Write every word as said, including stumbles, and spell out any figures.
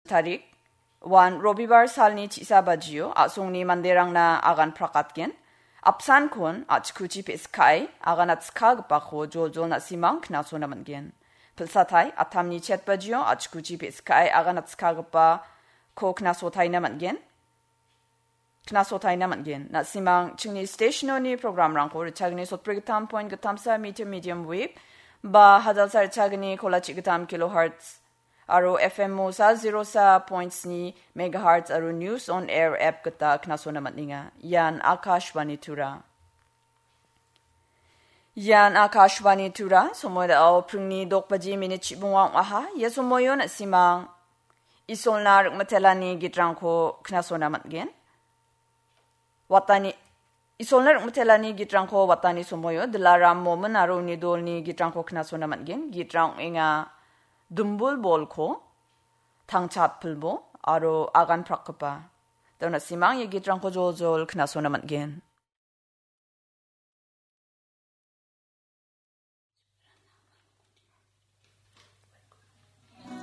tarik, uan Robibar salni chisa bajio a·songni manderangna agan prakatgen. Apsankon a·chikuchi pe·sikae agan atskagipako joljol na·simang knasona man·gen. Pilsatai atamni chet bajio a·chikuchi pe·sikae agan atskagipako knasotaina man·gen. Knasotaina man·gen. Na·simang chingni stationoni programrangko richagni sotbrigittam point gittamsa meter medium wave ba hajalsa richagni kolachi gittam kilohertz aro F M o sa zero sa point sni megahertz aro News on Air app gita knasona man·enga. Ian Akashvani Tura. Ian Akashvani Tura, somoidao pringni dok baji minit chibonga ong·aha. Ia somoio na·simang Isolna ring·mitelani gitrangko knasona man·gen. Watani, Isolna ring·mitelani gitrangko watani somoio Dilaram Momin aro uni dolni gitrangko knasona man·gen. Gitrang ong·enga Dumbul Bolko, Tangchat Pilbo aro Agan Prakgipa. Dona simang ia gitrangko joljol knasona man·gen.